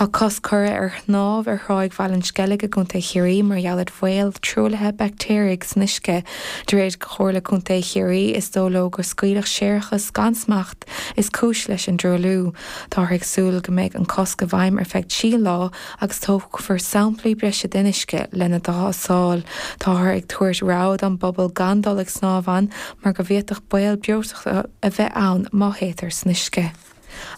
Tá cosc curtha ar shnámh ar thráigh Bhaile an Sceilg i gContae Chiarraí mar gheall ar bhaol truaillithe baictéaraigh san uisce. De réir Chomhairle Contae Chiarraí, is dóigh leo gur scaoileadh séarachas gan smacht is cúis leis an dtruailliú. Táthar ag súil go mbeidh an cosc i bhfeidhm ar feadh 3 lá agus tógfar samplaí breise den uisce lena dtástáil. Táthar ag tabhairt rabhadh don bpobal gan dul ag snámh ann mar go bhféadfadh baol breoiteachta a bheith ann má théitear san uisce.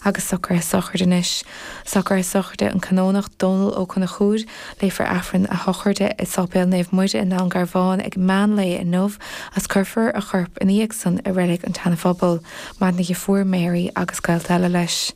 Agus socruithe sochraide anois. Socruithe sochraide an Canónach Dónal Ó Conchúir. Léifear Aifreann a shochraide i Sáipéal Naomh Muire i nDún Garbhán ag meán lae inniu agus cuirfear a chorp ina dhiaidh san i Reilig an tSeana-Phobail. Maireann a dheirfiúr Mary agus gaolta eile leis.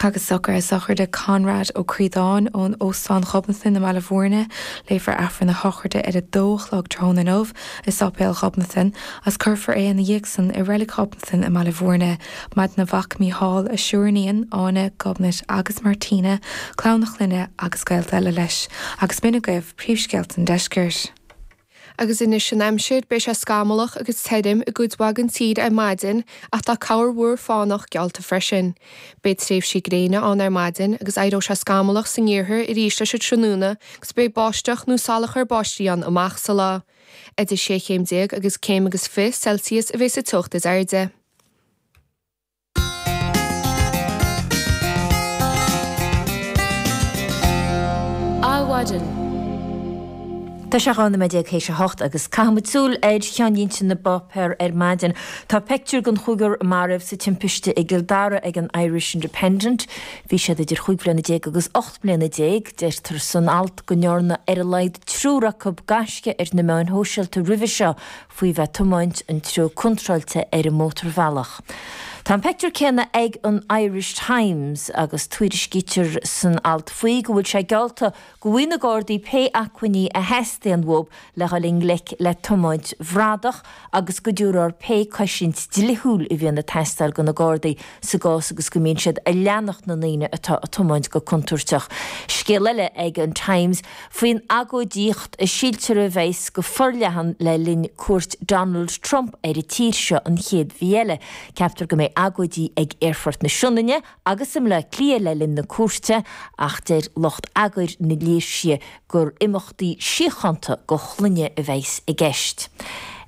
Agus socruithe sochraide Conrad Ó Críodáin ón Óstán Ghobnatan i mBaile Bhúirne. Léifear Aifreann a shochraide ar 2 a chlog tráthnóna inniu i Sáipéal Ghobnatan agus cuirfear é ina dhiaidh san i Reilig Ghobnatan i mBaile Bhúirne. Maireann a mhac Mícheál, a siúriníon, Áine, Gobnait agus Martina, clann a chlainne agus gaolta eile leis. Agus b'in agaibh príomhscéalta an deiscirt. Agus anois an aimsir, beidh sé scamallach agus tirim i gcuid mhaith den tír ar maidin ach tá corrmhúr fánach geallta freisin. Beidh tréimhsí gréine ann ar maidin agus éireoidh sé scamallach san iarthar arís leis an tráthnóna agus beidh báisteach nó salachar báistí ann amach sa lá. Idir 16 chéim agus céim agus 20 Celsius a bheidh sa teocht is airde. Adhmhaidin. Tá sé 12 nóiméad théis a hocht agus caithfidh muid súil ar cheannlínte na bpáipéar ar maidin. Tá peictiúr den chúigear a maraíodh sa timpiste i gCill Dara ag an Irish Independent. Bhí siad idir chúig bhliana déag agus 18 mbliana. Deirtear san alt go ndearna ar a laghad triúr acu gaisce ar na meáin shóisialta roimhe seo faoi bheith ag tiomáint an treo contráilte ar an mótarbhealach. Tá an peictiúr céanna ag an Irish Times agus tuairiscítear san alt faoi go bhfuil sé geallta go bhfaighidh na Gardaí pé acmhainní a theastaíonn uathu le dhul i ngleic le tiomáint bhradach agus go dtabharfar pé cosaint dlíthiúil a bhíonn ag teastáil do na Gardaí sa gcás agus go mbíonn siad ag leanacht na ndaoine atá ag tiomáint go contúirteach. Scéal eile ag an Times faoin agóidíocht a síltear a bheas go forleathan le linn cuairt Donald Trump ar an tír seo an chéad mhí eile. Ceaptar go mbeidh agóidí ag Aerfort na Sionainne agus i mBleá Cliath le linn na cuairte ach deir lucht eagair na léirsithe gur imeachtaí síochánta do shloinne a bheas i gceist.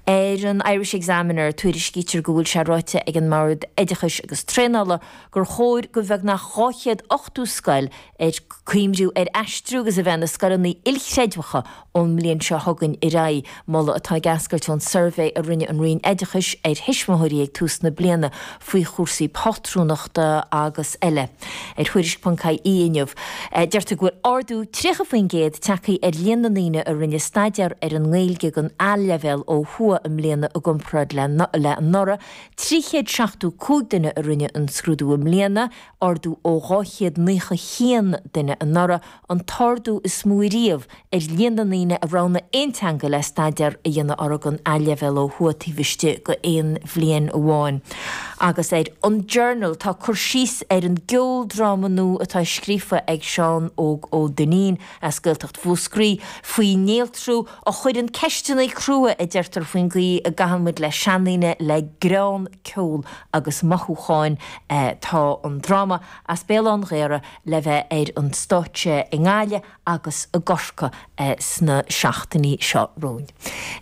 Ar an Irish Examiner, tuairiscítear go bhfuil sé ráite ag an mBord Oideachais agus Traenála gur chóir go bheagnach 280 scoil ag cuimhniú ar aistriú agus a bheith ina scoileanna ilchreidmheacha ón mbliain seo chugainn ar aghaidh, moladh atá ag eascairt ón suirbhé a rinne an Roinn Oideachais ar thuismitheoirí ag tús na bliana faoi chúrsaí pátrúnachta agus eile. Ar Thuairisc.ie inniu, deirtear go bhfuil ardú 30% tagtha ar líon na ndaoine a rinne staidéar ar an nGaeilge don A-leibhéal ó thuaidh i mbliana i gcomparáid le anuraidh, 375 duine a rinne an scrúdú i mbliana, ardú ó 291 duine anuraidh, an t-ardú is mó riamh ar líon na ndaoine a roghnaigh aon teanga le staidéar a dhéanamh orthu don A-leibhéal ó thuaidh taobh istigh d'aon bhliain amháin. Agus ar an Journal tá cur síos ar an gceoldráma nua atá scríofa ag Seán Óg Ó Duinnín as Gaeltacht Mhúscraí faoi néaltrú a chuireann ceisteanna crua, a deirtear, faoin gcaoi a gcaitheann muid le seandaoine le greann, ceol agus mothúcháin. Tá an dráma as Béal Átha an Ghaorthaidh le bheith ar an stáitse i nGaillimh agus i gCorcaigh sna seachtainí seo romhainn.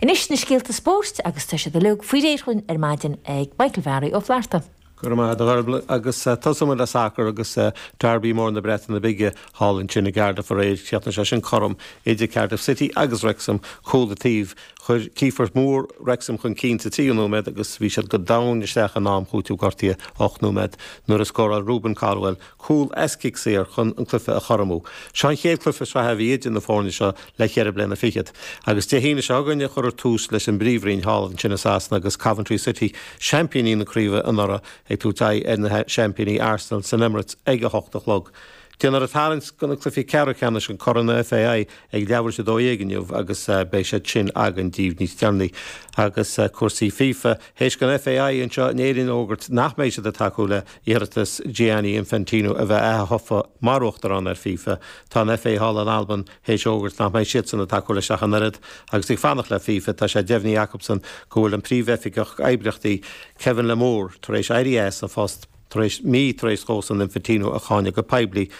Anois na scéalta spóirt agus tá siad uilig faoi réir dhúinn ar maidin ag Michael Bharry Ó Flatharta. Go raibh maith agat a Dhearbhla agus tosóidh muid le sacar agus Derby mór na Breataine Bige thall ansin i gCardiff aréir. Chríochnaigh sé sin cothrom idir Cardiff City agus Wrexham, cúl an taobh. Chuir Kieffer Moore Wrexham chun cinn sa tríú nóiméad agus bhí siad go domhain isteach in am chúiteamh gortaithe 8 nóiméad nuair a scóráil Rubin Colwill cúl as cic saor chun an cluiche a chothromú. Seo an chéad cluiche sraithe a bhí idir na foirne seo le ceithre bliana fichead. Agus Dé hAoine seo chugainn a chuirfear tús leis an bPríomhroinn thall ansin i Sasana agus Coventry City, seaimpíní na craoibhe anuraidh, ag tabhairt aghaidh ar na seaimpíní Arsenal san Emirates ag 8 a chlog. Déanfar an tarraingt do na cluichí ceathrú ceannais an Corn FAI ag leathuair tar éis 12 inniu agus beidh siad sin againn daoibh níos deireanaí. Agus cúrsaí FIFA, théis don FAI anseo in Éirinn a fhógairt nach mbeidh siad ag tacú le hiarratas Gianni Infantino a bheith ath-thofa mar Uachtarán ar FIFA, tá an FA thall in Albain théis a fhógairt nach mbeidh siadsan ag tacú leis ach an oiread. Agus ag fanacht le FIFA, tá sé deimhnithe acusan go bhfuil an Príomhoifigeach Oibríochtaí, Kevin Lamour, tar éis éirí as an phost tar éis mí tar éis dósan Infantino a cháineadh go poiblí.